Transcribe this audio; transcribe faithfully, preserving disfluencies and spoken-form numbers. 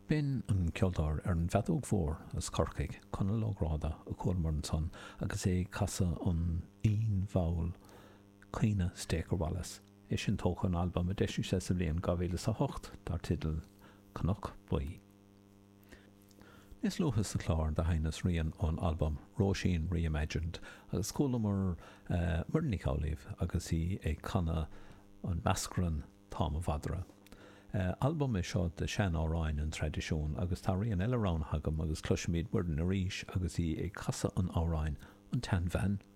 B'in an ceoltóir ar an bhfeadóg mhór as Corcaigh, Conall Ó Gráda, a chualamar ansan agus é ag casadh an fhoinn mhall Caoineadh Staker Wallace, é sin tógtha ón albam a d'eisigh sé sa bhliain dhá mhíle is a hocht dar teideal Cnoc Buí. Níos luaithe sa chlár do sheinneas rian ón albam Róisín Reimagined agus chualamar Muireann Nic Amhlaoibh agus í ag canadh an meascran Tá Mo Mhadra. Albam é seo de shean-amhráin an traidisiúin agus tá rian eile roghnaithe agam agus cloisfimid Muireann arís agus í ag casadh an amhráin An tSeanbhean Bhocht.